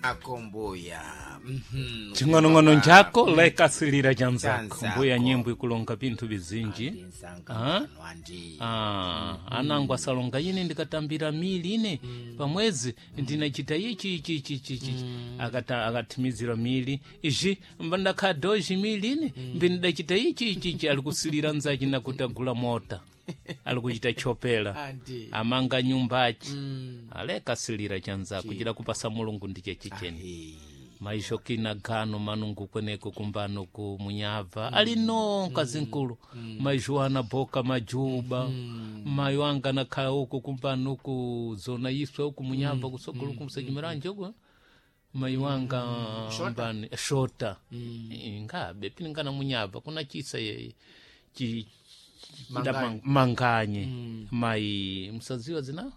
Ako mbuya. Ching'onong'ono njako lekasilira chanzako. Chanzako. Mbuya nyimbo ikulonga pinthu bizinji. Ndinsanga Ah? mfano andi. Ah, anangu asalonga ine ndikatambira mili ine pamwezi ndinachita ichi ichi ichi ichi ichi akata akathimizira mili izhi mbandakha doji mili ine mbindachita ichi ichi ichi ali kusilira nzachi nakuti agula mota ali kuchita chopela Andi. amanga nyumbachi alekasilira chanzako chida kupasa Mulungu ndiche chicheni. Eh. Maisho kina gano manungu kweneko kumbano ku munyava alino nkazinkulu maisho ana boka majuba mayo anga nakhala uku kumbano ku zona iswe uku munyava kusogolo kumsejimiranje uku mayi wanga mbani shota ngabe piningana munyava kuna chisa ye chi chida Manganye. manganye mayi musaziwa zina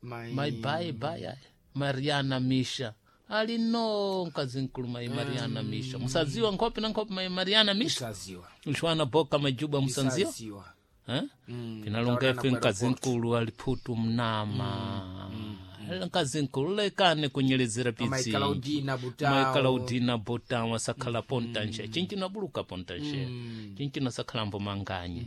Mai. mai bai bai aya. Mariana Misha alino mkazinkulu mai Mariana Misha musaziwa nkhope na nkhope mai Mariana Misha Musaziwa. mshwana boka majuba musanziwa. Musaziwa. Eh? Pinalonga Taona ife kwa mkazinkulu aliphutu mnama mkazinkulu lekane kunyelezera Mai pitsi Claudina Butao. mai Claudina Butao asakhala pontanshe chinchino abuluka pontanshe chinchino asakhalambo manganye.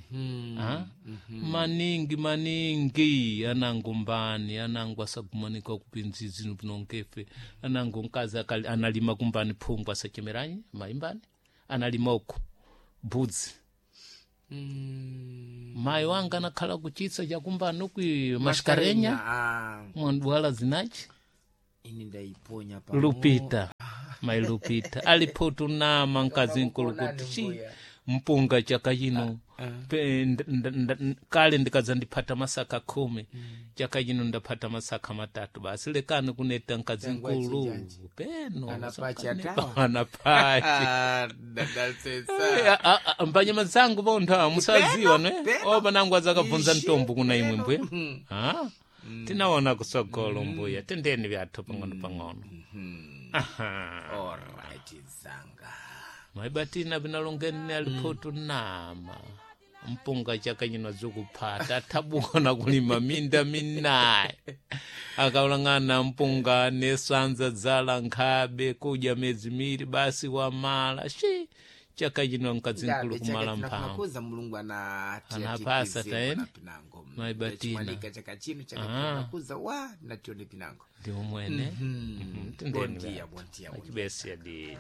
Ah? Maningi maningi anangu mbani anangu asagumanika kupinzizi pinongefe anangu mkazi analima kumbani phungu asachemeranyi maimbani analima uku budzi. Mayi wanga anakhala kuchitsa chakumbani uku mashikarenya Ah, mwandwala zinachi ini ndaiponya pa. Lupita mai Lupita aliphutu nama mkazinkulu kuti chi mpunga chaka chino kale ndikadza ndiphata masaka 10 chaka chino ndaphata masaka 3 basi lekani kuneta mkazinkulu peno Anapachi atawa. anapachi. Ah, dadasesa. Mbanyama zangu vontha musaziwa ne peno. o panangu azakabvunza Ishi, mtombo kuna imwe mbuya. Ah, tinaona kusogolo mbuya tendeni vyathu pang'ono pang'ono. Aha. Alright, zanga. Maibatina vinalongeni aliphutu nama mpunga chaka chino zikuphata athabukana kulima minda minayi akaulang'ana mpunga nesanza dzala nkhabe kudya medzi miri basi wamala shi chaka chino mkazinkulu kumala mphamvu. Nakuza Mulungu Anapasa taene. Pinango. Maibatina. Chimalika chaka chino chaka chino nakuza wa natione pinango. Ndi umwene. Tendeni Bom dia, vyathu bom dia, bom dia. achibesiya didi.